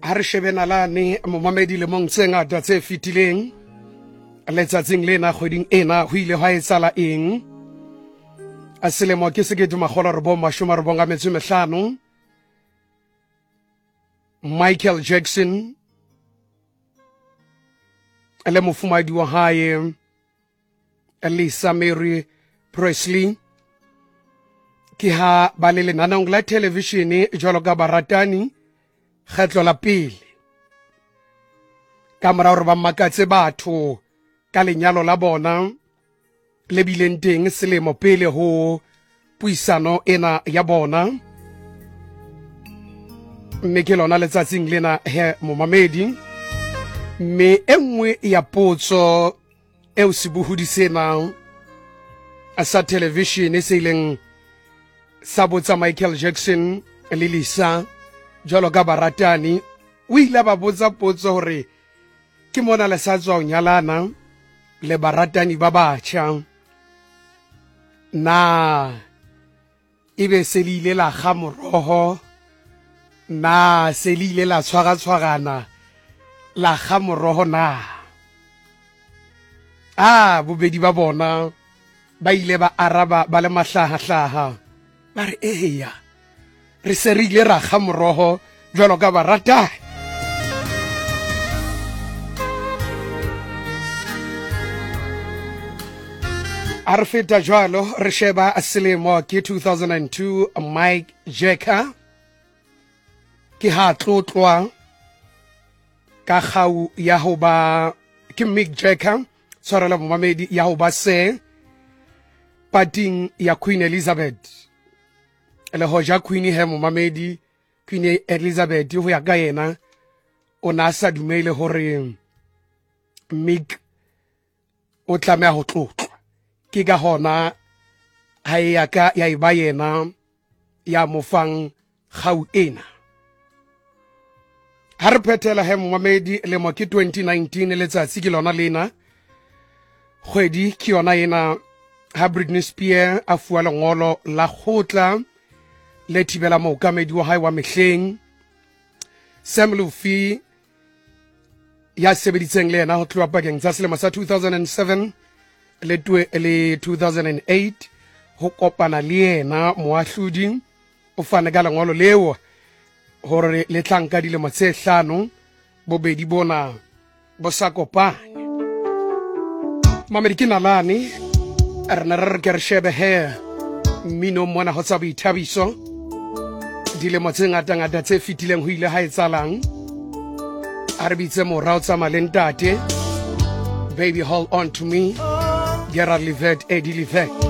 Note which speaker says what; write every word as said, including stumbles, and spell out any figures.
Speaker 1: Ha re shebe nalane momamedi lemong tse ngata tse fetileng, letsatsing lena kgweding ena ho ile hwa etsahala eng? A selemo ke sekete makgolo a robong mashome a robong a metso e mehlano. Michael Jackson le mofumahadi wa hae Lisa Marie Presley ke ha ba le lenaneong la televishene jwalo ka baratani kgetlo la pele, ka mora hore ba makatse batho ka lenyalo la bona le bileng teng selemo pele ho puisano ena ya bona. Mme ke lona letsatsing lena he momamedi. Mme e nngwe ya potso eo sebohodi sena sa televishene se ileng sa botsa Michael Jackson le Lisa jwalo ka baratani, o ile ba botsa potso hore ke mona le sa tswa ho nyalana le baratani ba batjha, na ebe se le ile la kga moroho, na se le ile la tshwaratshwarana la kga moroho na? Ah, bobedi ba bona ba ile ba araba ba le mahlahahlaha, ba re eya, re se re ile ra kga moroho jwalo ka baratani. A re feta jwalo re sheba selemo ke two thousand and two, Mike Jagger ke ha tlotlwa ka kgau ya ho ba ke Mick Jagger, tshwarelo momamedi, ya ho ba se pating ya Queen Elizabeth. Le hoja Queen he momamedi, Queen Elizabeth ho ya ka yena o na sa dumele hore Mick o tlameha ho tlotlwa, ke ka hona ha e ya ka ya eba yena ya mo fang kgau ena. Ha re phethela he momamedi, lemo ke twenty nineteen, letsatsi ke lona lena, kgwedi ke yona ena ha Britney Spears a fuwa lengolo la kgotla le thibela mookamedi wa hae wa mehleng Sam Lutfi ya sebeditseng le yena ho tloha pakeng tsa selemo sa two thousand and seven le le two thousand and eight ho kopana le yena. Moahlodi o fane ka lengolo leo hore le tla nka dilemo tse hlano bobedi bona bo sa kopane. Mamedi ke nalane, re ne re re ke re shebe he mmino mona ho tsa boithabiso dilemo tse ngatangata tse fetileng ho ile ha etsahalang. A re bitse mora o tsamaya le ntate, Baby Hold On To Me, Gerald Levert, Eddie Levert.